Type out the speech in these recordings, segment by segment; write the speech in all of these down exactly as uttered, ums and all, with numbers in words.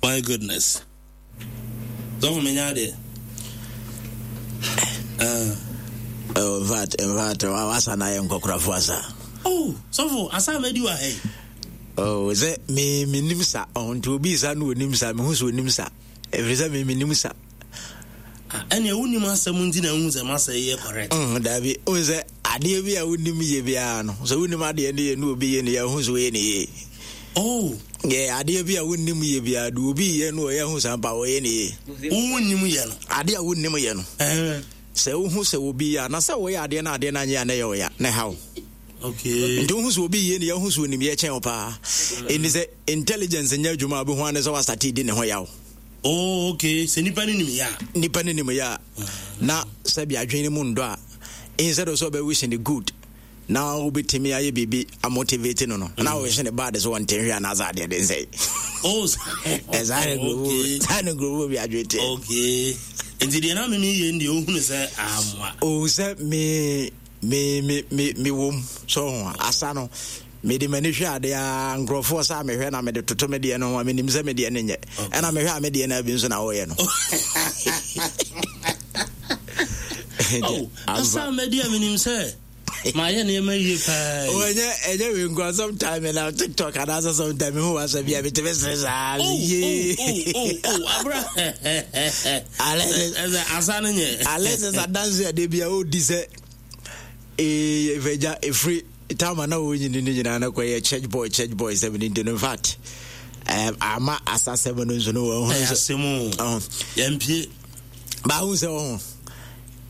My goodness. Sɔfo, menya adeɛ. Uh. Oh, in fact, in fact, wasa na yɛ nkɔkorafo asa. Oh, sɔfo, asa madi wɔ ha yi. Oh, sɛ me menim sa. Oh, nti obi sa no onim sa, mehu sɛ onim sa. Ɛfiri sɛ me menim sa. Ɛnea wonim asɛm nti na wohu sɛ masa yi yɛ correct. Mm, daabi, wohu sɛ adeɛ bi a wonim yɛ biara no, sɛ wonim adeɛ no yɛ ne obi yɛ ne yɛ, wohu sɛ woyɛ ne yie. Oh. Yɛ adeɛ bi a wonim yɛ biara de obi yɛ no ɔyɛ ho sampa ɔyɛ ne yie. Wonim yɛ no. Adeɛ a wonim yɛ no. Sɛ wohu sɛ obi yɛ a, na sɛ woyɛ adeɛ no adeɛ no anyɛ a na ɛyɛ ɔya na ɛha wo. Okay. Nti wohu sɛ obi yɛ ne yɛ, wohu sɛ onim yɛ kyɛn wo paa. Ɛni sɛ intelligence nyɛ adwuma a, wobɛhu ane sɛ wasate di ne ho yaw. Oh, okay. Sɛ nipa no nim yɛ a. Nipa no nim yɛ a, na sɛbi adwene no mu ndɔ a, instead of sɛ ɔbɛwish ne good na wobɛtumi ayɛ biribi amotivate no no mm. na wohye ne bad sɛ wɔnte hwɛ anaasɛ adeɛ de nsɛe. Oh, ɛsaa ne nkurɔfoɔ saa ne nkurɔfoɔ bi adwene teɛ. Okay. Nti deɛ na meme yɛ deɛ wohunu sɛ amoa. Oh, sɛ me me me me me wom so ho asa no, mede m'ani hwɛ adeɛ a nkurɔfoɔ sɛ a mehwɛ na mede toto me deɛ no ho a, menim sɛ me deɛ no nyɛ, ɛna mehwɛ a me deɛ no abi nso na wɔyɛ no. Oh, asa madi a menim sɛ mayɛ nneɛma yie paa. Ɛnyɛ ɛnyɛ wei nkoa, sometime na TikTok anaasɛ sometime mehu wasɛ bi a metumi sere saa yie. Abra asa no nyɛ. Alexis adanse adeɛ bi a ɔdi sɛ ɛfagya ɛfiri tama na wɔnyini no nyinaa no kɔyɛ church boy, church boy sɛm no nti no, in fact, um, ama asasɛm no nso no wɔhunu sɛ yɛmpie baahu sɛ ɔho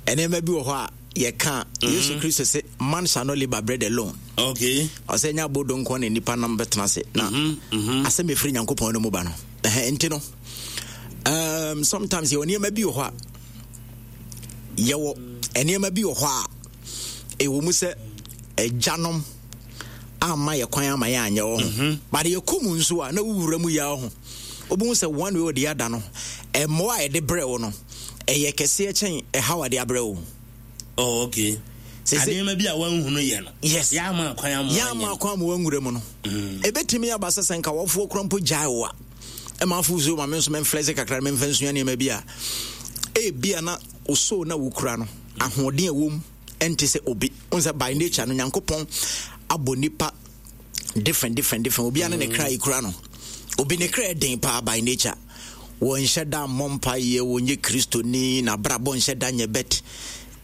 nneɛma bi wɔ hɔ a yɛka. Yesu Kristo sɛ man shall not live by bread alone. Okay ɔsɛ nya abodo nko na nipa nam bɛtena ase na asɛm ɛfiri Nyankopɔn no mu ba no. Nti no, um, sometimes yɛwɔ nneɛma bi wɔ hɔ a yɛwɔ nneɛma bi wɔ hɔ a ɛwɔ mu sɛ agyanom amma yɛ kwan ama yɛ anyɛ wɔ ho, but yɛkɔ mu nso a na wowura mu yɛ ho, wobɛhu sɛ one way or the other no, ɛmmoa a yɛde brɛ wo no ɛyɛ kɛseɛ kyɛn ɛhaw a de abrɛ wo. Oh, okay. Adeɛma bi a wanhunu yɛ no. Yes. Yɛama kwan ama. Yɛama kwan ama wanwura mu no. Ɛbɛtumi aba sɛ sɛ nka wɔfoɔ kora mpo gyae wo a ɛma afo so ma me nso memflɛse kakra na memfa nsua nneɛma bi a ebia na wo soul na wokura no ahoɔden a ɛwɔ mu ɛnte sɛ obi wo sɛ by nature no Nyankopɔn abɔ nipa different, different, different. Obi ne ne kra ekura no, obi ne kra den paa by nature, wɔnhyɛ da mmɔ mpaeɛ, wɔnyɛ Kristoni, n'abrabɔ nhyɛ da nyɛ bet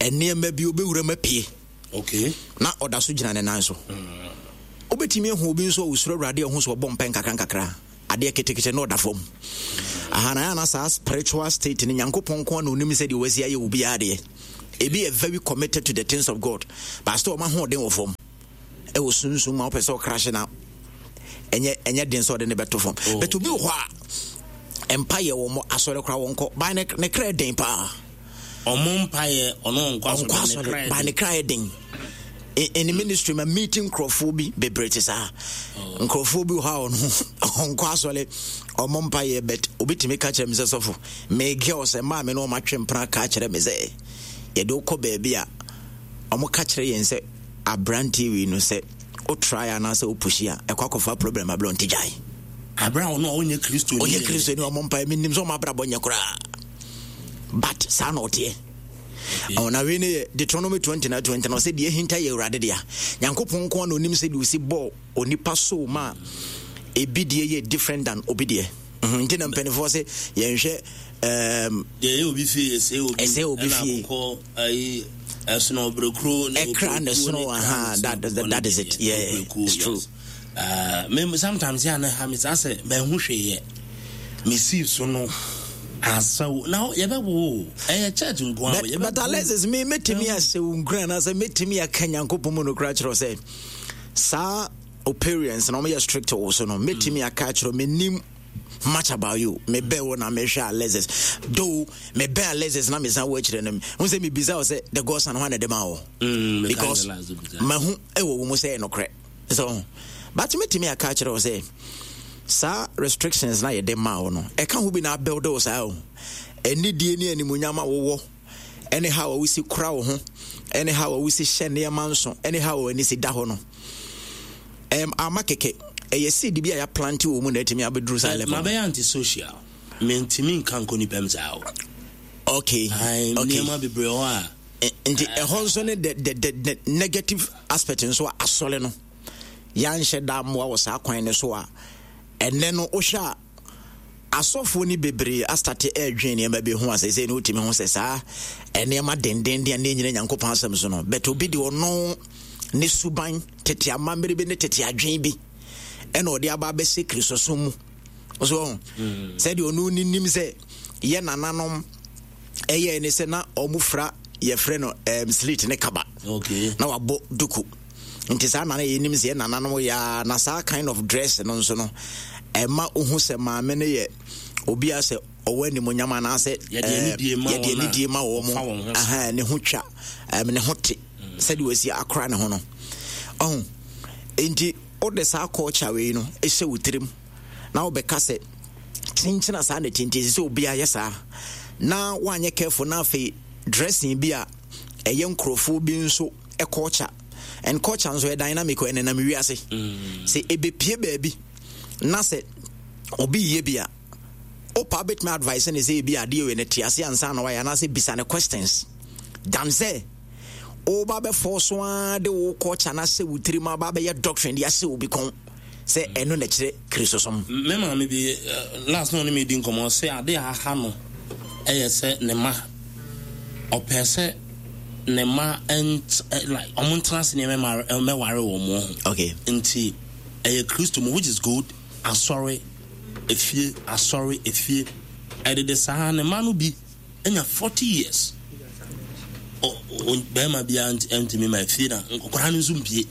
nneɛma bi obɛwura mu apue. Okay na ɔda so gyina ne nan so. Wobɛtumi ahu obi nso a ɔsuro Awurade a ɔho so ɔbɔ mpɛ nkakra nkakra, adeɛ ketekete na ɔda fam aha na na saa spiritual state no, Nyankopɔn nko na onim sɛ deɛ wasi ayɛ obiara deɛ. Ebi yɛ very committed to the things of God, but still ɔma ahoɔden wɔ fam ɛwɔ sunsum ma wopɛ sɛ ɔkrahye na ɛnyɛ ɛnyɛ den sɛ ɔde ne bɛto fam. Oh. But obi wɔ hɔ a mpa yɛ wɔn asɔre koraa wɔn kɔ ban ne ne kra den paa. Ɔmo mpa yɛ ɔno ɔnkɔ asɔre ban ne kra yɛ den. In the ministry ma meeting nkurɔfoɔ bi bebree te saa. Oh. Nkurɔfoɔ bi wɔ hɔ a ɔno ɔnkɔ asɔre, ɔmo mpa yɛ, but obi tumi ka kyerɛ mi sɛ, "Sɔfo, me girls mmaa mi na ɔmo atwe mpena ka kyerɛ mi sɛ yɛde wokɔ baabi a ɔmo ka kyerɛ yɛn sɛ aberanteɛ wei no sɛ o try anaasɛ o push a ɛkɔ akɔfa problem abrɛ ɔnte gyae." Abira ɔno a ɔnyɛ Kristo ni. Ɔnyɛ Kristo ni, ɔmo mpa mi nim sɛ ɔmo abrabɔ nyɛ koraa, but saa na ɔteɛ. Ɔna na wei ne yɛ Deuteronomy twenty na twenty na ɔsɛ deɛ ahinta yɛ Awurade dea. Nyankopɔn nko na onim sɛ deɛ osi bɔɔ onipa so ma ebi deɛ yɛ different than obi deɛ. Mhm, nti na mpanimfoɔ sɛ yɛnhwɛ um, deɛ ɛyɛ obi fie ɛsɛ obi ɛsɛ obi fie. Ɛna ayi ɛsono ɔbrɛkuro. Ne ɛkra ne sono aha, that, that, that is it, yeah, it's true. Uh, me sometimes yɛ ana ha me saa sɛ mahu hwee yɛ mesii so no asaw na yɛbɛwo ɛyɛ church nko a. But, but Alexis, me mɛtumi ahyɛ wo nkura anaasɛ mɛtumi aka Nyankopɔn mu nokora kyerɛ sɛ saa o parents na ɔmoyɛ strict wɔ so no, mɛtumi aka akyerɛ, menim much about you, mebɛn wo na mehwɛ Alexis, though mebɛn Alexis na mesan wɔ akyirɛ no hu sɛ mebisa wo sɛ the Godson ho ana de ma wo, because mahu ɛwɔ wo mu sɛ ɛyɛ nokorɛ so. But mɛtumi aka akyerɛ wo sɛ saa restrictions na yɛde maa wo no ɛka ho bi na abuild wo saa o anidie ne animuonyam a wowɔ, ɛne how a wosi kora wo ho, ɛne how a wosi hyɛ nneɛma nso, ɛne how a w'ani si da hɔ no, ɛm ama kɛkɛ. Ɛyɛ seed bi a yɛaplant wɔ mu na atumi abɛduru saa level. Mabɛyɛ antisocial, mentumi nka nkɔ nipa m saa o. okay okay nneɛma bebree hɔ a. Nti ɛhɔ nso ne the the the the negative aspect nso a asɔre no yɛanhyɛ da mmoa wɔ saa kwan no so a, ɛnɛ no wohwɛ a, asɔfoɔ no bebree astart ɛredwen nneɛma bi ho a sɛ sɛ ne wotumi ho sɛ saa nneɛma dendenden a ne nyina Nyankopɔn asɛm so no, but obi de ɔno ne suban, tete amammerɛ bi ne tete adwen bi ɛna ɔde aba abɛhyɛ Kristosom mu so ɔho mm. sɛdeɛ ɔno ninim sɛ yɛ nananom ɛyɛ ne sɛ na ɔmo fra, yɛfrɛ no um, slit ne kaba okay. na wabɔ duku. Nti saa nana yɛnim sɛ yɛ nananom yɛa na saa kind of dress no nso no ɛma wohu sɛ maame no yɛ obi a sɛ ɔwɔ animonyam anaasɛ yɛde anidie ma wɔ mo, ne ho twa, ne ho te sɛdeɛ wɔasi akora ne ho no ɔho. Nti wode saa culture wei no ɛhyɛ wo tirim na wobɛka sɛ kyenkyena saa na tinti sɛ obiara yɛ saa na woanyɛ careful, na afei dressing bi a ɛyɛ nkurɔfoɔ bi nso culture, and culture nso yɛ dynamic, ɛnenam wiase mm. Sɛ ɛbɛpie baabi na sɛ obi yɛ bi a, wopa bɛtumi advice ne sɛ ebi adeɛ wei no te ase ansa na wayɛ, anaasɛ bisa ne questions dan sɛ woba bɛfɔ so ara de wo culture no ahyɛ wo tirim aba bɛyɛ doctrine de ahyɛ obi kɔn sɛ ɛno na kyerɛ Kristosom. Me maame bi eh, last na ɔne me di nkɔmmɔ, sɛ ade a aha no ɛyɛ sɛ ne ma ɔpɛ sɛ ne ma ɛnt like ɔmo ntena ase nneɛma mɛware wɔn mo ho. Okay nti ɛyɛ Kristo mu, which is good, asɔre efie, asɔre efie, ɛdede saa. Ne ma no bi ɛnya forty years, bɛrima biara ntumi ma efie na nkɔkora no nso mpie.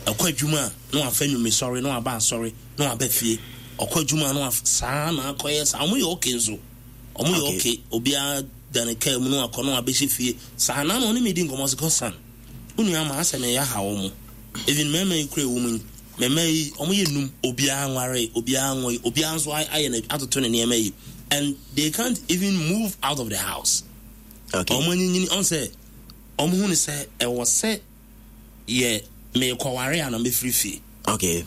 Ɛkɔ adwuma a, na wafa nnwumi sɔre na waba asɔre na waba fie. Ɔkɔ adwuma na wafa saa na akɔyɛ saa. Ɔmo yɛ okay nso, ɔmo yɛ okay. Obiara da ne kaa mu na wakɔ na wabɛhyɛ fie saa. Na na ɔne mi di nkɔmɔ sɛ, kɔsan wo nua ma asɛ mɛyɛ ha wɔn. Even mmarima yi kura ewu mu yi, mmarima yi ɔmo yɛ num, obiara nware, obiara nwɔ, obiara nso ayɛ na atoto ne nneɛma yi, and they can't even move out of the house. Okay ɔmo anyinyini ɔn sɛ ɔmo hu ne sɛ ɛwɔ sɛ yɛ meekɔware a na mɛfiri fie. Okay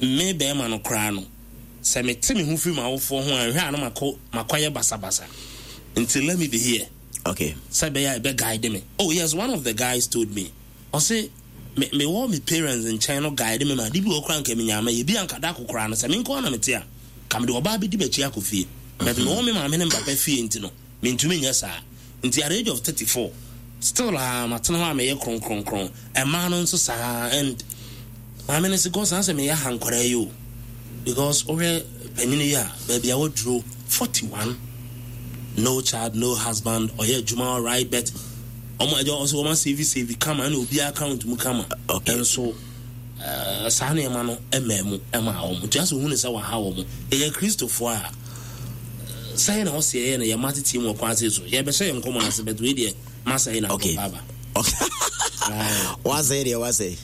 me bɛrima no koraa no, sɛ mete me ho firi m'awofoɔ ho a, nhwɛ a na makɔ makɔyɛ basabasa, nti let me be here okay sɛ ɛbɛyɛ a ɛbɛ guide me. Oh yes, one of the guys told me, ɔse me mewɔ me parents nkyɛn no guide me ma ade bi wɔ koraa nka menya ama yɛ bi anka da kokoraa no sɛ me nko na mete a, ka mede ɔbaa bɛdi m'akyi akɔ fie, but mewɔ me maame ne me papa fie nti no mentumi nyɛ saa. Nti at the age of thirty-four still a matena hɔ a meyɛ kronkronkron. Ɛmaa no nso saa, and maame no sɛ God saa sɛ meyɛ ha nkwaraa yi o, because wohwɛ panyini yi a baabi a waduro, forty-one, no child, no husband, ɔyɛ adwuma alright, but ɔmo ɛgya ɔsɛ ɔmo asave save kama ɛna obiara account mu kama. Okay. Nso ɛɛ saa nneɛma no ɛmɛ mu ɛma wɔn nti asɛ ohun sɛ waha wɔn. Ɛyɛ Kristofoɔ a sɛn na ɔsɛ yɛ no yɛ ma tete mu ɔkwan ase so yɛbɛhyɛ yɛn nkɔmɔ n'ase, but wei deɛ masa yi na Okay. akɔ aba. Wasɛe deɛ wasɛe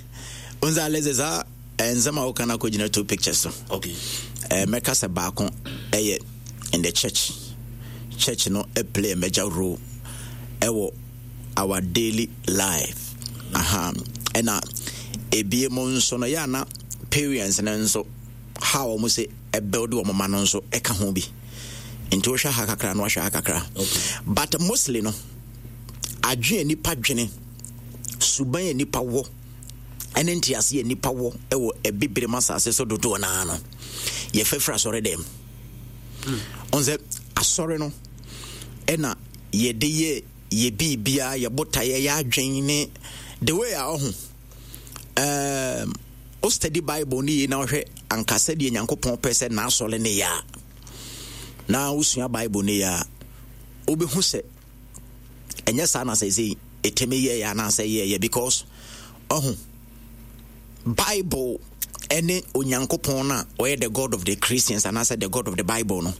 nsa alɛ sɛ saa eh, nsɛm a woka no akɔgyina two pictures so. Okay eh, mɛka sɛ baako ɛyɛ in the church. Church no eh, play a major role ɛwɔ our daily life aha. Ɛna ebie mu nso no yɛ ana parents no nso how wɔn sɛ ɛbuild wɔn ma no nso ɛka ho bi. Nti wohwɛ ha kakra na wahwɛ ha kakra, Okay. but mostly no adwene a nipa dwene, suban a nipa wɔ, ɛne ntease a nipa wɔ ɛwɔ ɛbibire mu asase so dodoɔ naa no yɛfɛfiri asɔre dɛm. Ɔn sɛ asɔre no ɛna yɛde yɛ yɛ biribiara, yɛ botaeɛ, yɛ adwen ne the way a ɔho um, o study Bible ne yie na wohwɛ anka sɛdeɛ Nyankopɔn pɛ sɛ n'asɔre ne yɛ a, na wosua Bible ne yɛ a, wobɛhu sɛ ɛnyɛ saa na sɛ sɛ ɛtumi yɛyɛ anaasɛ yɛyɛ, because ɔho Bible ɛne Onyankopɔn no a ɔyɛ the God of the Christians anaasɛ the God of the Bible no,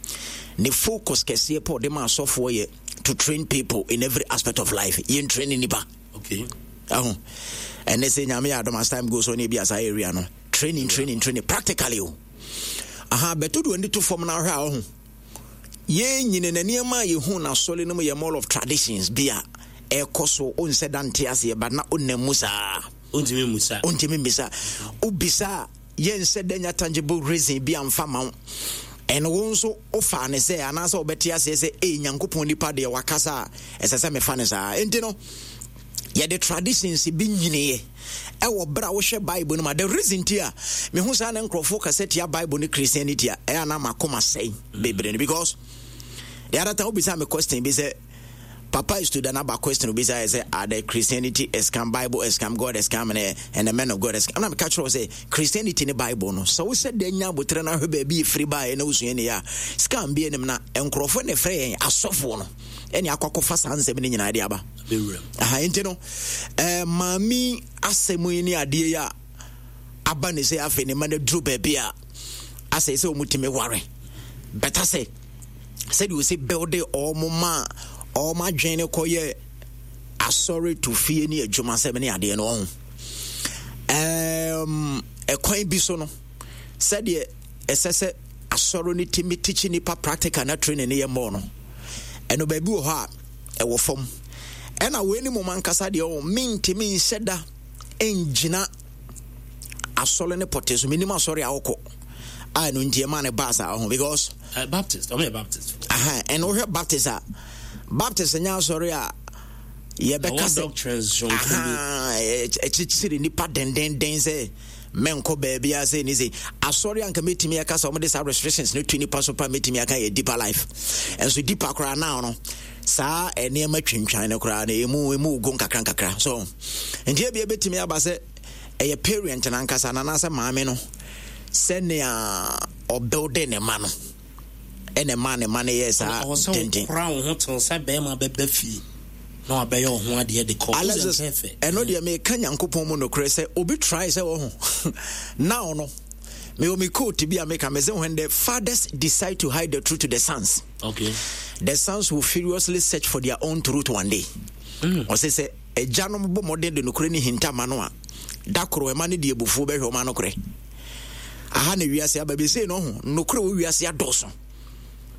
ne focus kɛseɛ pɔ ɔde ma asɔfoɔ yɛ to train people in every aspect of life. Yɛn train nipa. Okay ɛho ɛnɛ sɛ Nyame yɛ adom, as time goes on, ebi asa area no training, training, training practically o aha bɛto de w'ani to fam na ahwɛ a, ɔho yɛn nyina na nneɛma a yɛhu na asɔre no mu yɛ more of traditions bi a ɛkɔ so. Onsɛ da nte aseɛ ba na ɔnam mu saa. Ontumi musa. Ɔntumi mbisa. Wobisa a, Yɛnsɛ dɛ nya tangible reason bi amfa ma wo. Ɛno wo nso wofaa ne sɛ anaasɛ wobɛte aseɛ sɛ ei, Nyankopɔn nipa deɛ wakasa a, ɛsɛ sɛ mefa no saa. Enti no yɛde traditions bi nyiniiɛ ɛwɔ berɛ a wohwɛ Bible no ma. The reason ti a mehu saa na nkurɔfoɔ kasa tia Bible ne Christianity a ɛyɛ ana makoma sɛe bebree no, because the other time wobisa me question bi sɛ Papa is to the aba question obi sɛ sɛ are the Christianity a scam, Bible a scam, God a scam, and, and the men of God a scam? Ɛna meka kyerɛ wo sɛ Christianity ne Bible no, sɛ wosɛ dɛ nya abotrɛ no ahwɛ baabi ɛfiri baeɛ na wosua ne yɛ a, scam bi anim na nkurɔfoɔ ne frɛ yɛn asɔfoɔ no ɛne akɔ akɔfa saa nsɛm no nyinaa de aba aha. Nti no eh, maame asɛm yi ne adeɛ yi a aba ne sɛ afei ne ma no aduru baabi a asɛ sɛ ɔmutumi ware bɛta sɛ sɛdeɛ ɔsi builde ɔmo ma ɔmo adwene no kɔyɛ asɔre to fie ne adwumasɛm ne adeɛ no ɔho ɛɛm ɛkwan bi so no, sɛdeɛ ɛsɛ sɛ asɔre no tumi tikyi nipa practical na training no yɛ mmɔɔ no, ɛno baabi wɔ hɔ a ɛwɔ fam. Ɛna wei ne mom ankasa deɛ ɔho mentumi nhyɛ da ngyina asɔre ne pɔte so. Menim asɔre a wokɔ a ɛno nti ɛma ne baa saa ho because Uh, Baptist, ɔmo yɛ Baptist. Aha, ɛna wohwɛ Baptist a, Baptist nyɛ asɔre a yɛbɛka sɛ ɛkyekyere nipa dendenden sɛ mɛnkɔ baabi a sɛ ni sɛ asɔre anka mɛtumi aka sɛ ɔmode saa restrictions no to nipa so pa. Mɛtumi aka yɛ Deeper Life. Ɛnso Deeper koraa now no, saa nneɛma twintwan no koraa no ɛmu ɛmu go nkakra nkakra so. Nti ebia bɛtumi aba sɛ ɛyɛ parent no ankasa na anaasɛ maame no, sɛnea ɔbuilde ne ma no ɛna ɛma ne ma no yɛ saa tenten. Kora wo ho tew sɛ bɛrima bɛba fie na wabɛyɛ wo ho adeɛ de kɔ. Alexis, ɛno deɛ meka Nyankopɔn mu nokorɛ sɛ obi try sɛ wɔ ho now no, mewɔ me quote bi a meka me sɛ, "When the fathers decide to hide the truth to the sons, okay. the sons will furiously search for their own truth one day." mm. Ɔsɛ sɛ agyanom bɔ mmɔden de nokorɛ ne hinta ma no a, da koro ɛma no de abufuo bɛhwɛ ɔma nokorɛ. Aha na wiase aba bɛsei no ho nokorɛ wɔ wiase adɔɔso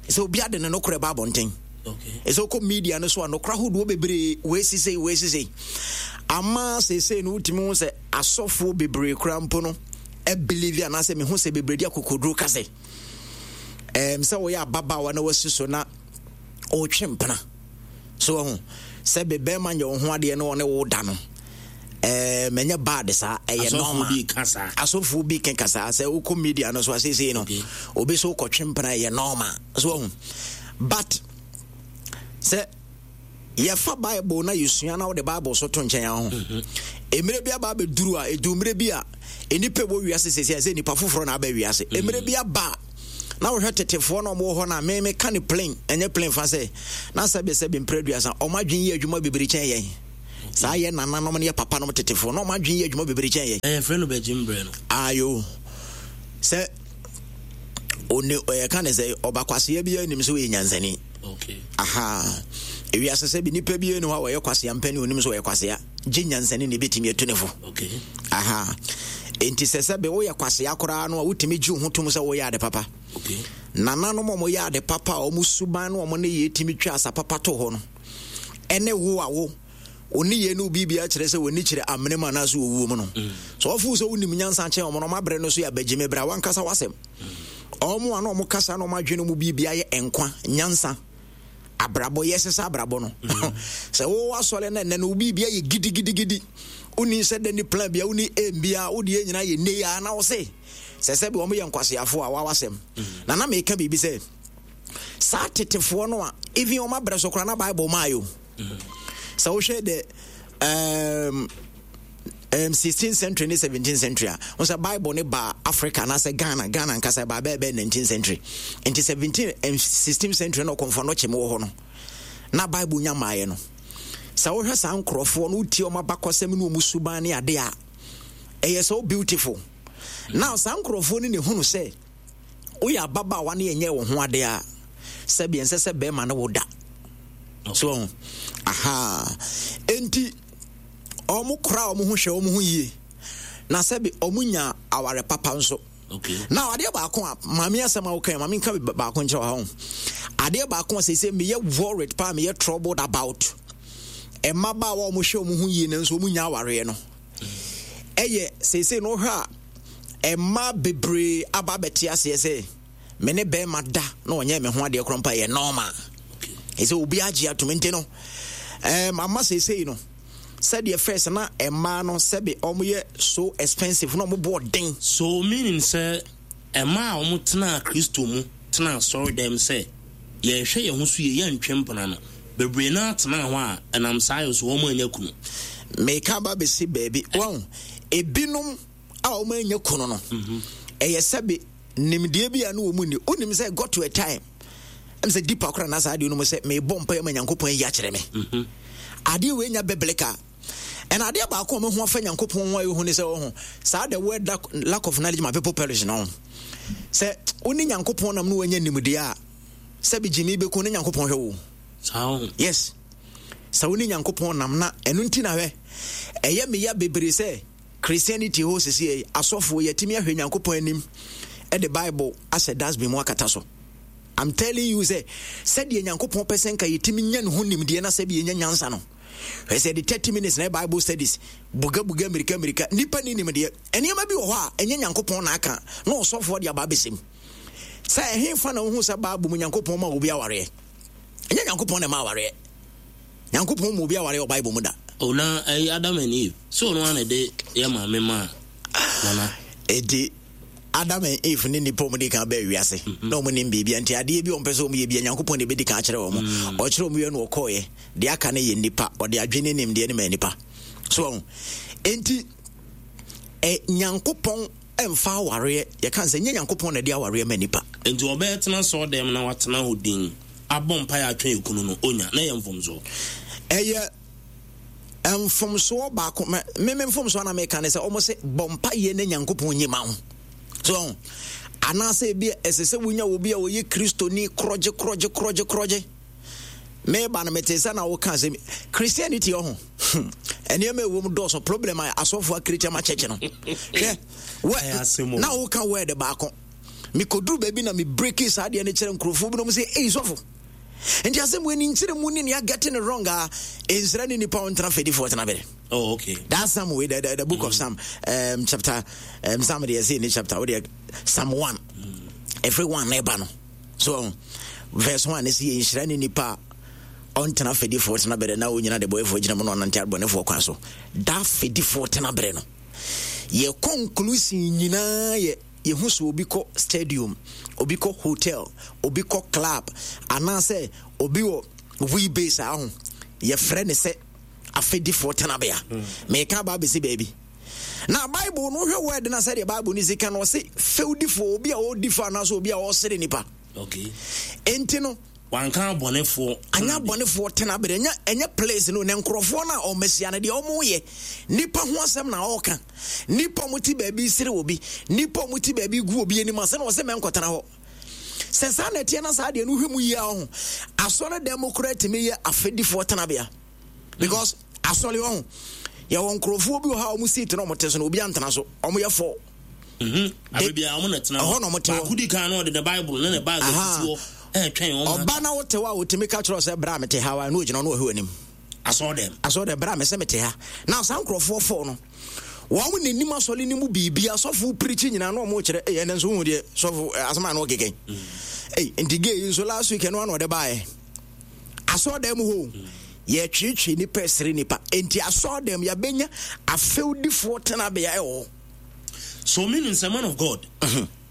sɛ obi ade ne nokorɛ ba abɔnten. Ɛsɛ wokɔ media no so a, nokorɛ ahodoɔ bebree weesi sei weesi sei ama seesei no wotumi hu sɛ asɔfoɔ bebree koraa mpo no believe anaasɛ mehu sɛ bebree de akokoduro ka sɛ ɛm sɛ wɔyɛ ababaawa na wasi so na ɔretwe mpena so ɔho sɛ bɛbɛrima nyɛ wo ho adeɛ na ɔne wo da no, ɛɛ mɛnyɛ bad saa, ɛyɛ normal. Asɔfoɔ bi keka saa sɛ wokɔ media no so asesei no, obi so wokɔtwe mpena ɛyɛ normal so ɔho. But sɛ yɛfa Bible na yɛsua na wode Bible so to nkyɛn ho, mmerɛ bi aba abɛduru a ɛdu mmerɛ bi a nnipa wɔ wiase sɛsi a sɛ nnipa foforɔ na aba wiase. Mmerɛ bi aba a na wohwɛ tetefoɔ na ɔmowɔ hɔ no a, me meka ne plain, ɛnyɛ plain fa sɛ na sɛbe sɛbe mprɛ aduasa ɔmo adwene yɛ adwuma bebree kyɛn yɛn. Saa yɛ nananom ne yɛ papa nom tetefoɔ na ɔmo adwene yɛ adwuma bebree kyɛn yɛn. Ɛyɛ frɛ no bɛgye mbrɛ no. Ayo, sɛ one ɛyɛ ne sɛ ɔba kwasea bi anim sɛ ɔyɛ nyansani. Okay. Aha, ewiase sɛ bi nipa bi ani hɔ a wɔyɛ kwasea mpɛni onim sɛ ɔyɛ kwasea, gye nyansani na ebɛtumi atu ne fo. Okay. Aha, enti sɛ sɛ bɛ woyɛ kwasea koraa no a, wotumi gye wo ho tom sɛ woyɛ ade papa. Okay. Nananom a wɔyɛ ade papa a wɔn suban no wɔn ne yɛ tumi twa asa papa to hɔ no, ɛne wo a wo oni yɛ no biribi akyerɛ sɛ wɔni kyerɛ amene mu anaasɛ wɔwuo mu no so ɔfo sɛ wonim nyansa kyɛn ɔmo no, ɔmo abrɛ no so yɛ abagyime berɛ a wankasa wasɛm ɔmo a na ɔmo kasa na ɔmo adwene mu biribi ayɛ nkwa nyansa abrabɔ yɛ sesa abrabɔ no sɛ wowɔ asɔre no ɛnɛ no wo biribi ayɛ gidigidigidi, woni sɛ dɛ ne plan bia, woni aim bia, wode yɛ nyinaa yɛ nne a na wo se sɛ sɛ bi wɔn yɛ nkwaseafoɔ a wawasɛm. Na na meka biribi sɛ saa tetefoɔ no a even wɔn abrɛ so koraa na Bible maa yo sɛ wohwɛ the um, um, sixteenth century ne seventeenth century a, wo sɛ Bible ne ba Africa anaasɛ Ghana, Ghana nkasa ba bɛɛ bɛɛ nineteenth century. Nti seventeen and sixteenth century na ɔkɔmfɔ no kyem wɔ hɔ no na Bible nya maayɛ no. Sɛ wohwɛ saa nkurɔfoɔ no, wotie ɔma abakɔsɛm ne ɔmu suban ne ade a ɛyɛ so beautiful. Now saa nkurɔfoɔ no ne hunu sɛ woyɛ ababaawa ne ɛnyɛ wo ho ade a, sɛbi ɛnsɛ sɛ bɛrima ne wo da so. Aha, enti ɔmo kora ɔmo ho hwɛ ɔmo ho yie na sɛbi ɔmo nya aware papa nso. Okay. Now adeɛ baako a maame asɛm a woka, maame nka baako nkyerɛ wɔ ha ho. Adeɛ baako a sɛ meyɛ worried paa, meyɛ troubled about mmabaawa a wɔhwɛ wɔn ho yie nanso wɔn nya awareɛ no, ɛyɛ seesei no wohwɛ a Ɛma bebree aba abɛte aseɛ sɛ me ne bɛrima da na ɔnyɛ me ho adeɛ korɔ mpa yɛ normal. Ɛsɛ obi agye atom nti no, um, ama seesei no, sɛdeɛ first na ɛmaa no sɛbe ɔmoyɛ so expensive na ɔmo bɔɔ den. So meaning sɛ ɛma a wɔn tena Kristo mu, tena asɔre dɛm sɛ yɛhwɛ yɛn ho so yie, yɛntwe mpena no bebree naa tena hɔ a, ɛnam saa yɛ so wɔn anya kunu. Meka ba bɛsi baabi wɔn ebinom a wɔn anya kunu no, ɛyɛ sɛbe nimdeɛ bi a no wɔn ni. Wonim sɛ got to a time ɛm sɛ deeper koraa na saa adeɛ no mu sɛ mebɔ mpa ma Nyankopɔn ayi akyerɛ me adeɛ wei nya biblical. Ɛna adeɛ baako a mehu afa Nyankopɔn ho a ɛhu ne sɛ ɔho saa the word lack of knowledge my people perish no, sɛ wo ne Nyankopɔn nam no wanya nimdeɛ a, sɛbi gyimi bɛku ne Nyankopɔn hwɛ wo. Yes, sɛ wo ne Nyankopɔn nam na ɛno nti na hwɛ ɛyɛ meya bebree sɛ Christianity hɔ sisi asɔfoɔ yɛtumi ahwɛ Nyankopɔn anim ɛde Bible ahyɛ dustbin mu akata so. I'm telling you sɛ sɛdeɛ Nyankopɔn pɛ sɛ nka yɛtumi nya ne ho nimdeɛ na sɛbi yɛnya nyansa no, hwɛ sɛ de thirty minutes na Bible studies bugabuga mmirika mmirika nipa ne nimdeɛ. Nneɛma bi wɔ hɔ a ɛnyɛ Nyankopɔn na aka na ɔsɔfoɔ de aba abɛsɛm sɛ ɛhe fa na wohu sɛ Bible mu Nyankopɔn ma obi awareɛ. Ɛnyɛ Nyankopɔn na ɛma awareɛ. Nyankopɔn ma obi awareɛ wɔ Bible mu da. O na ɛyɛ Adam and Eve so ɔno ana de yɛ maame ma nana. Enti Adam and Eve ne nipa ɔmo di kan bɛɛ wiase na ɔmo nim biribi, nti adeɛ bi ɔmo pɛ sɛ ɔmo yɛ bi, Nyankopɔn na ebedi kan akyerɛ wɔn. Ɔkyerɛ ɔmo yɛ no, ɔkɔɔyɛ deɛ aka no yɛ nipa ɔde adwene ne nimdeɛ ne ma nipa so ɔmo. Enti ɛ Nyankopɔn ɛmfa awareɛ, yɛka sɛ nyɛ Nyankopɔn na ɛde awareɛ ma nipa. Nti ɔbɛyɛ tena sɔɔ dɛm na watena hɔ din abɔ mpa yɛ atwɛn ekunu no onya na yɛ mfomsoɔ. Ɛyɛ mfomsoɔ baako. Me me mfomsoɔ na meka ne sɛ ɔmo sɛ bɔ mpa yɛ na Nyankopɔn nye ma wo so, anaasɛ ebi ɛsɛ sɛ wonya obi a ɔyɛ Kristoni korɔgye korɔgye korɔgye korɔgye. Meba no mete sɛ na woka sɛ Christianity ɔho nneɛma ɛwɔ mu dɔɔso, problem a asɔfoɔ akiriti ama kyɛkyɛ no. Hwɛ, na woka word baako, mekɔduru baabi na mebreki saa adeɛ no kyerɛ nkurɔfoɔ binom sɛ, ei sɔfo, nti asɛm wei ni nkyerɛ mu ne nea getting it wrong a ɛnsira ne nipa ɔntena fɛdifoɔ tena bere. Oh, okay. That Psalm way, the, the, the book mm. of Psalm, um, chapter, um, Psalm, they say in chapter, what Psalm one, mm. every one neighbor no. So, verse one is nhyira ne nipa ɔntena fɛdifoɔ tena bere na onyina de bɔyɛfoɔ gyina mu na ɔnante abɔnefoɔ kwan so. Da fɛdifoɔ tena bere no, yɛ conclusion nyinaa yɛ yɛhu sɛ obi kɔ stadium, obi kɔ hotel, obi kɔ club, anaasɛ obi wɔ we base a ho yɛfrɛ ne sɛ afɛdifoɔ tenabea. Meka aba abɛsi baabi na Bible no hwɛ word na sɛdeɛ Bible no si ka no, ɔse fɛwdifoɔ, obi a ɔdi fa anaasɛ obi a ɔsere nipa. Okay. Enti no wanka abɔnefoɔ. Anya abɔnefoɔ tenabere ɛnyɛ ɛnyɛ place no na nkurɔfoɔ no a ɔmɛsia no deɛ ɔmo yɛ nipa ho asɛm na ɔɔka. Nipa ɔmo te baabi sere obi, nipa ɔmo te baabi gu obi anim ase na ɔsɛ mɛnkɔtena hɔ. Sɛ saa na ɛteɛ na saa deɛ no hwɛ mu yie ɔho asɔre dɛm mo koraa tumi yɛ afɛdifoɔ tenabea, because asɔre ɔho yɛwɔ nkurɔfoɔ bi wɔ ha a ɔmo seat na ɔmo te so na obi antena so, ɔmo yɛ fɔ. Abibia ɔmo na tena hɔ na ɔmo te hɔ. Baako di kan na ɔde ne Bible ne ne bag asisi hɔ ɛɛtwɛn ɔmo. Ɔba na wote hɔ a, wotumi ka kyerɛ sɛ bra mete ha wa na ogyina no ɔhwɛ w'anim. Asɔre dɛm. Asɔre dɛm, bra mɛsɛ mete ha. Na saa nkurɔfoɔ fɔ no, wɔn n'anim asɔre no mu biribi asɔfo pirikyi nyinaa na wɔn kyerɛ ɛyɛ ɛnɛ nso hu deɛ sɔfo asɛm a na ɔkeka ɛyi. Nti gay yi nso last week ɛno ano ɔde baayɛ asɔre dɛm hɔ, yɛtwetwe nipa ɛsere nipa. Nti asɔre dɛm yɛabɛnya afɛwdifoɔ tenabea ɛwɔ hɔ. So meaning sɛ, man of God,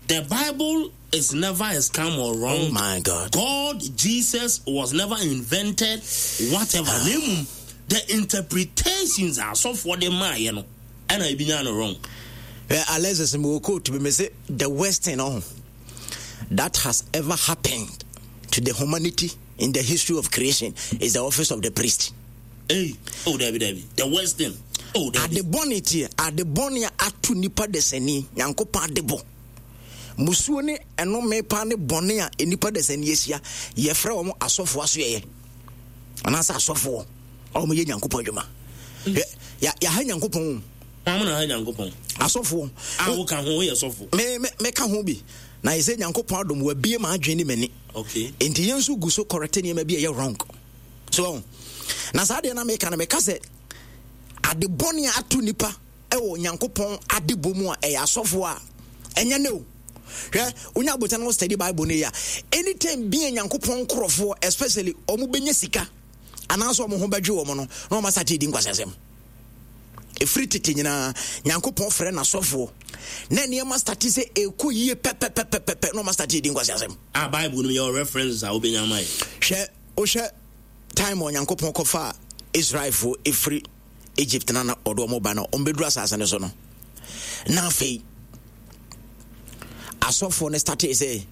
the Bible is never a scam or wrong. Oh my God. God, Jesus was never invented, whatever. Name the interpretations are so for the man, you know. And I be wrong. Uh, Alexis me quote me say the worst thing oh, that has ever happened to the humanity in the history of creation is the office of the priest. Hey, oh Debbie, Debbie, the worst thing. Oh, Debbie. Ade bɔne tie, ade bɔne ato nipa desani, Nyankopɔn ade bɔ. Musuo ne ɛnome pa ne bɔne a nipa desani ahyia, yɛfrɛ wɔn asɔfoɔ asoɛyɛ. Anaasɛ asɔfoɔ a wɔn yɛ Nyankopɔn adwuma. Ya ya ha Nyankopɔn. Wɔn na ha Nyankopɔn. Asɔfoɔ. A woka ho yɛ sɔfo. Me me me ka ho bi. Na yɛ sɛ Nyankopɔn adom wabie ma adwene ne m'ani. Okay. Enti yɛn nso gu so correct nneɛma bi a ɛyɛ wrong. So na saa deɛ na meka no, meka sɛ ade bɔne a ato nipa ɛwɔ Nyankopɔn adebɔ mu a ɛyɛ asɔfoɔ a Ɛnyɛ ne o. Hwɛ, wonya abotire na wo study Bible no yie a, anytime bi a Nyankopɔn nkorɔfoɔ, especially ɔmo bɛnya sika anaasɛ ɔmo ho bɛdwe wɔn no, na ɔmo asate di nkwasiasɛm. Ɛfiri tete nyinaa, Nyankopɔn frɛ n'asɔfoɔ na nneɛma starte sɛ ɛkɔ yie pɛpɛpɛpɛpɛ na ɔma starte di nkwasiasɛm. Ah, Bible no yɛ references a wobɛnya ama yɛ. Hwɛ, wohwɛ time Onyankopɔn kɔfa Israelfoɔ ɛfiri Egypt na na ɔde ɔmo ba no, ɔmo bɛduru asase no so no, na afei asɔfoɔ no starte sɛ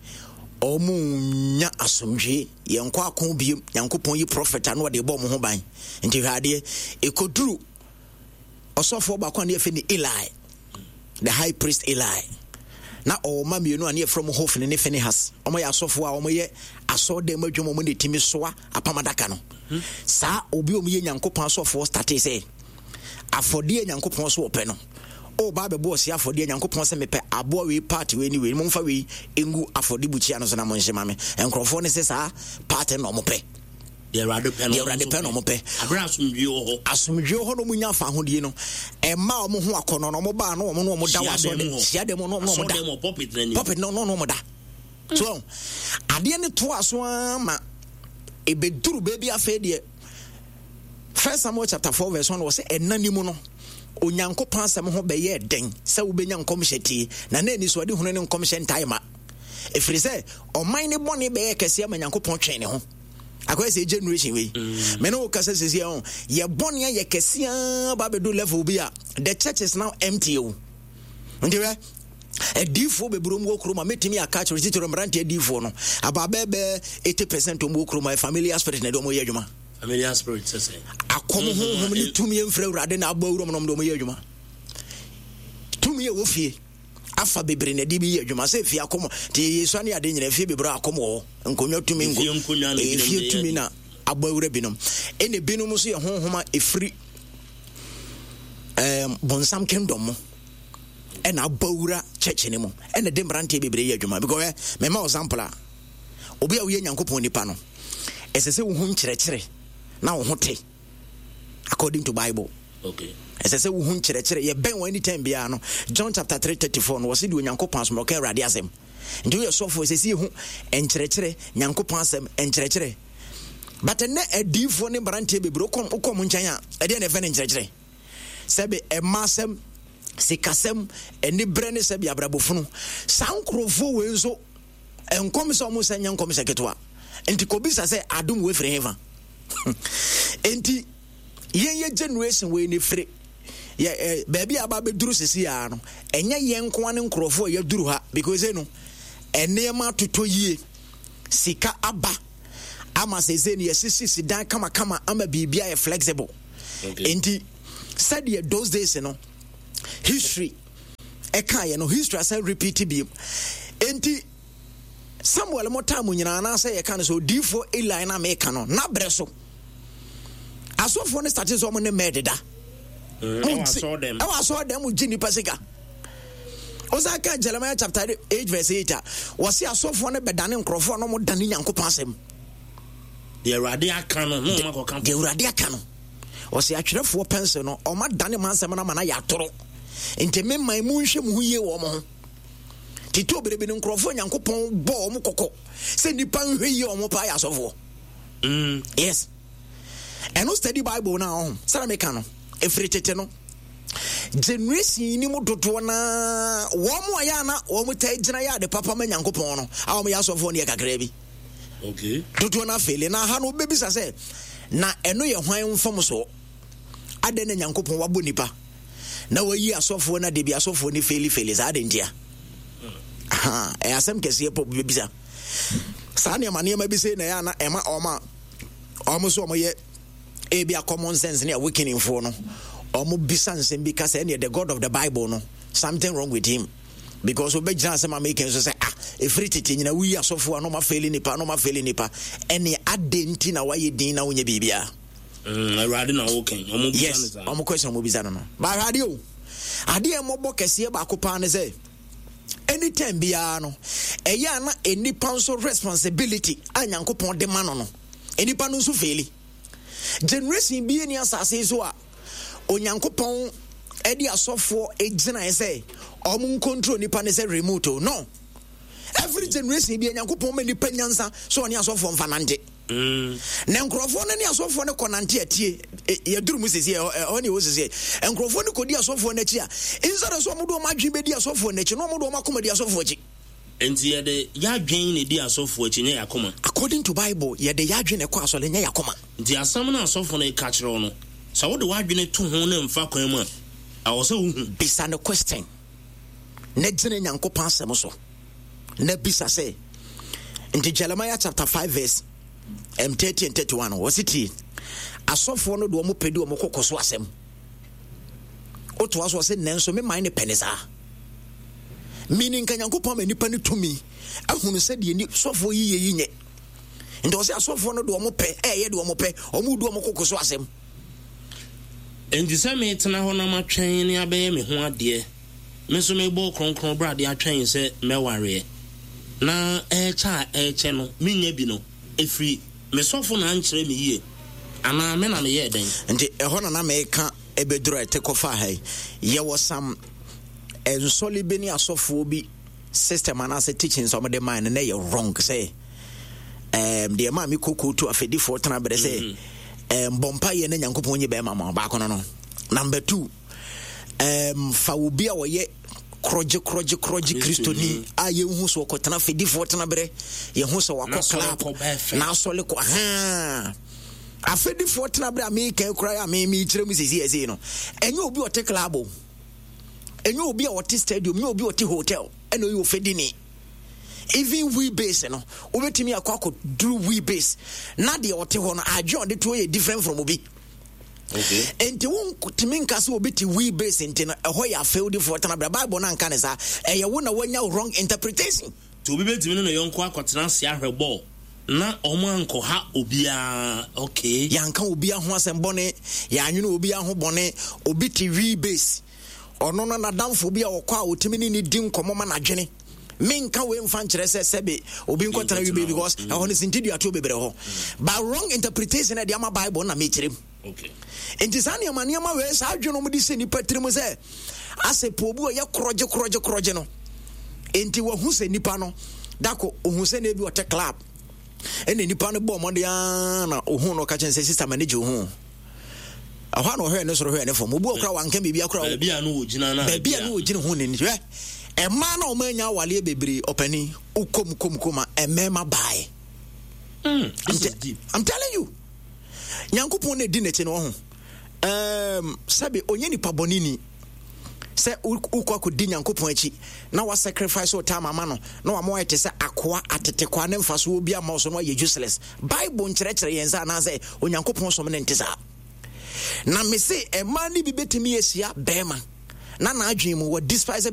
ɔmo nya asomdwe, yɛnkɔ ako biem. Nyankopɔn yi prophet a na ɔde bɔ ɔmo ho ban. Nti hwɛ adeɛ, ɛkɔduru ɔsɔfoɔ baako a ne yɛfɛ ne Eli, the high priest Eli, na ɔwɔ mma mmienu a ne yɛfrɛ mo Hofni ne Phinehas. Ɔmo yɛ asɔfoɔ a ɔmo yɛ asɔɔdan mu adwuma, ɔmo na ɛtumi soa apam adaka no. Saa obi a ɔmo yɛ Nyankopɔn asɔfoɔ starte sɛ afɔdeɛ Nyankopɔn so ɔpɛ no, ɔba abɛbɔ ɔsi afɔdeɛ, Nyankopɔn sɛ mepɛ aboa wei, part wei ne wei, momfa wei ngu afɔde bukyia no so na monhye ma me. Nkurɔfoɔ no sɛ saa part no na ɔmo pɛ. Deɛ Awurade pɛ no deɛ Awurade pɛ na ɔmo pɛ. Aberɛ asomdwie wɔ hɔ. Asomdwie hɔ na ɔmo nya afa ahodie no, ɛma ɔmo ho akɔnɔ na ɔmo baa na ɔmo na ɔmo da wɔ asɔre hyia dɛm na ɔmo na ɔmo da asɔre dɛm pulpit n'anim. Pulpit no na ɔmo da so. Adeɛ no to aso ara ma ebeduru beebi. Afei deɛ, First Samuel chapter four verse one wɔ sɛ ɛna ne mu no, Onyankopɔn asɛm ho bɛyɛ den sɛ wobɛnya nkɔmhyɛ tie, na na ani so ade hunu ne nkɔmhyɛ ntae ma, ɛfiri sɛ ɔman ne bɔne bɛyɛ kɛseɛ ma Nyankopɔn twɛn ne ho. Akɔyɛ sɛ generation wei mm. me ne wo kasa sɛsi ho, yɛ bɔne ayɛ kɛseɛ ba bɛdu level bi a the church is now empty o. Nti hwɛ, adiifoɔ bebree mu wɔ kurom a mɛtumi aka kyerɛ, titiri mmeranteɛ adiifoɔ no, aba bɛɛbɛɛ eighty percent mu wɔ kurom a familiar spirit na ɛde ɔmo yɛ adwuma. Familiar spirit sɛ sɛ Akɔm honhom ne tumi mfrɛ Awurade na abɔ awuram nom de ɔmo yɛ adwuma. Tumi a ɛwɔ fie afa bebree na ɛde bi yɛ adwuma sɛ fie akɔm nti yɛsua ne ade nyina, fie bebree akɔm wɔ hɔ, nkonnwa tumi, nko fie tumi na abɔ awura binom, ɛna binom nso yɛ honhom a ɛfiri ɛɛm bonsam kingdom mu ɛna abɔ awura church ne mu, ɛna de mmeranteɛ bebree yɛ adwuma. Because ɛ mɛma example a, obi a woyɛ Nyankopɔn nipa no, ɛsɛ sɛ wohu nkyerɛkyerɛ na wo ho te according to Bible. Okay. Ɛsɛ sɛ wohu nkyerɛkyerɛ yɛbɛn wɔ anytime biara no. John chapter three thirty-four no, wɔse deɛ Onyankopɔn asom ɔka Awurade asɛm. Nti woyɛ sɔfoɔ, ɛsɛ sɛ yɛhu nkyerɛkyerɛ, Nyankopɔn asɛm nkyerɛkyerɛ. But ɛnɛ adiifoɔ ne mmeranteɛ bebree, wokɔ wokɔ mo nkyɛn a, ɛdeɛ na ɛfɛ no nkyerɛkyerɛ, sɛbe ɛma asɛm, sikasɛm, ani berɛ ne sɛbe abrabɔfunu. Saa nkurɔfoɔ wei nso, nkɔm sɛ ɔmo sɛ nyɛ nkɔm sɛ ketewa. Nti kɔbisa sɛ adom wei firi hefa? Nti yɛn yɛ generation wei ne firi yɛ ɛ baabi a aba abɛduru sisi ya no, ɛnyɛ yɛn nko ne nkurɔfoɔ a yɛduru ha, because no nneɛma atotɔ yie, sika aba ama sese no yɛsisi si dan kamakama ama biribi ayɛ flexible. Okay. Nti sɛdeɛ those days no history ɛka yɛ no, history asan repeat biem. Nti Samuel mo time nyinaa, anaasɛ yɛka no sɛ odiifoɔ Eli na meka no, n'abrɛ so asɔfoɔ no starte sɛ ɔmo ne mɛɛ deda. Ɛwɔ asɔre dɛm. Ɛwɔ asɔre dɛm mu gye nipa sika. Ɔsan ka Jeremiah chapter eight verse eight a wɔsi asɔfoɔ no bɛdane nkurɔfoɔ na ɔmo dane Nyankopɔn asɛm. Deɛ Awurade aka no na ɔma kɔka. Deɛ Awurade aka no, ɔsi atwerɛfoɔ pɛnsel no, ɔma dane ma nsɛm no ama no ayɛ atoro. Nti me man mu, nhwɛ mu ho yie wɔ ɔmo ho. Tete obere no, nkurɔfoɔ Nyankopɔn bɔ ɔmo kɔkɔ sɛ nipa nhwɛ yie ɔmo paa yɛ asɔfoɔ. Mm. Yes, ɛno study Bible no a ɔho sɛna meka no, ɛfiri tete no, generation yi ni mu dodoɔ naa, wɔn mo a yɛ ana wɔn taa gyina yɛ ade papa ma Nyankopɔn no a wɔn yɛ asɔfoɔ no yɛ kakraa bi. Okay. Dodoɔ no afeele na ha no, wobɛbisa sɛ na ɛno yɛ hwan mfam soɔ? Adɛn na Nyankopɔn wabɔ nipa na wayi asɔfoɔ no ade bi, asɔfoɔ no fail fail saa de ntia? Aha, ɛyɛ asɛm kɛseɛ pɔ bɛbisa. Saa nneɛma nneɛma bi sei na ɛyɛ ana ɛma ɔma ɔmo so ɔmo yɛ ebi a common sense ne awakening foɔ no, ɔmo bisa nsɛm bi ka sɛ ɛneɛ the God of the Bible no, something wrong with him, because wobɛgyina asɛm a meka nso sɛ ah, ɛfiri tete nyina woyi asɔfoɔ a na ɔma fail nipa, na ɔma fail nipa, ɛne adɛn nti na wayɛ din na wonyɛ biribiaa? Mm, Awurade na wɔkɛn ɔmo bisa no. Yes. Saa. Ɔmo question ɔmo bisa no no baahwɛ adeɛ o, adeɛ mmɔbɔ kɛseɛ baako paa ne sɛ anytime biara no, ɛyɛ a na nipa nso responsibility a Nyankopɔn de ma no no nipa no nso fail. Generation bi ni asase yi so a Onyankopɔn ɛde asɔfoɔ gyinae sɛ Ɔmo ncontrol nipa ne sɛ remote o. No, every generation bi, Nyankopɔn ma nipa nyansa so ɔne asɔfoɔ mfa nante. Mm. Na nkurɔfoɔ no ne asɔfoɔ no kɔnante atie, e, yɛduru mu sisi, ɛhɔ ne ɛwɔ sisi. Nkurɔfoɔ no kɔdi asɔfoɔ no akyi a, instead of sɛ ɔmo de ɔmo adwene bɛdi asɔfoɔ no akyi, na ɔmo de ɔmo akoma di asɔfoɔ akyi. Nti yɛde yɛadwen na ɛdi asɔfoɔ akyi, nyɛ yɛakoma? According to Bible, yɛde yɛadwene kɔ asɔre, nyɛ yɛakoma. Nti asɛm no asɔfo no ka kyerɛ wo no, sɛ wode w'adwene to ho ne mfa kwan mu a, ɛwɔ sɛ wohu. Bisa no question na gyina Nyankopɔn asɛm so na bisa sɛ, nti Jeremiah chapter five verse um, thirty and thirty-one, wɔse tie, asɔfoɔ no de ɔmo pɛ di ɔmo kɔkɔ so asɛm. Wotoa so, ɔse nanso me man ne pɛ ne saa, meaning nka Nyankopɔn ma nipa no tumi ahunu sɛ deɛ ni sɔfoɔ yi yɛ yi nyɛ. Nti ɔsɛ asɔfoɔ no de ɔmo pɛ ɛyɛ de ɔmo pɛ, ɔmo di ɔmo kɔkɔ so asɛm. Nti sɛ metena hɔ na matwɛn ne abɛyɛ me ho adeɛ, me nso mebɔ kronkron brade atwɛn sɛ mɛwareɛ na ɛkyɛ a ɛkyɛ no menya bi no, ɛfiri me sɔfo na ankyerɛ me yie anaa me na meyɛɛ dɛn? Nti ɛhɔ na na meka ɛbɛduru a ɛte kɔfa ha yi, yɛwɔ sam nsɔle bi ne asɔfoɔ bi system anaasɛ teachings a wɔde maa no na ɛyɛ wrong, sɛ um, deɛ maa me koko tu afɛdifoɔ tena berɛ sɛ um, bɔ mpayɛ na Nyankopɔn nye bɛrima ma baako no no Number two, um, fa obi a ɔyɛ korɔgye korɔgye korɔgye Kristoni a yɛnhu so ɔkɔtena afɛdifoɔ tena berɛ, yɛhu sɛ wakɔ club na asɔle kɔ haa afɛdifoɔ tena berɛ a meka kora a mekyerɛ mu sɛsi ɛsei no, ɛnyɛ obi a ɔte club o, ɛnyɛ obi a ɔte stadium, ɛnyɛ obi a ɔte hotel ɛna ɔyɛ ofɛdini. Even we base no, wobɛtumi akɔ akɔduru we base na deɛ ɔte hɔ no, adwe a ɔde to yɛ different from obi. Okay. Nti wontumi nka sɛ obi te we base nti no ɛhɔ yɛ afɛwdifoɔ tena berɛ. Bible no anka ne saa. Ɛyɛ wo na woanya wrong interpretation. Nti obi bɛtumi ne ne yɔnko akɔtena ase ahwɛ bɔɔl na ɔmo ankɔha obiara, okay? Yɛanka obiara ho asɛm bɔne, yɛanwene obiara ho bɔne. Obi te we base, ɔno no nadamfo bi a ɔkɔ a ɔtumi ne ne di nkɔmmɔ ma n'adwene. Menka wei mfa nkyerɛ sɛ sɛbe obi nkɔtena wi base because ɛhɔ no sintiduatoɔ bebree hɔ, but wrong interpretation ɛde ama Bible na mekyerɛ mu. Okay. Nti saa nneɛma nneɛma wei, saa adwene no de sɛ nipa tirim sɛ asɛ po obi ɔyɛ korɔgye korɔgye korɔgye no, nti wahu sɛ nipa no dako ohu sɛ na ebi ɔte club, ɛna nipa no bɔ ɔmɔden aa na ohun no, ɔka kyɛn sɛ, "Sister, ma ne gye ohun." Ɛhɔ a na ɔhwɛ ne soro, hwɛ ne fam, obi ɔkora wanka biribi akora. Baabi a no wɔ gyina na baabi a no wɔ gyina ho ne hwɛ ɛmaa na ɔmo anya awaleɛ bebree. Ɔpani wokom kom kom a ɛmɛɛma bae. Mm, this I'm, is te- deep. I'm telling you, Nyankopɔn na ɛdi n'akyi no ɔho um, sɛbe ɔnyɛ nipa bɔne ni sɛ wokɔ akɔdi Nyankopɔn akyi na wasacrifice wo time ama no na wama wayɛ te sɛ akoa atetekoa ne mfasoɔ bi ama wo so na wayɛ useless. Bible nkyerɛkyerɛ yɛn sɛ anaasɛ Onyankopɔn som ne nte saa. Na me se ɛmaa no bi bɛtumi ahyia bɛrima na n'adwene mu wɔ despise.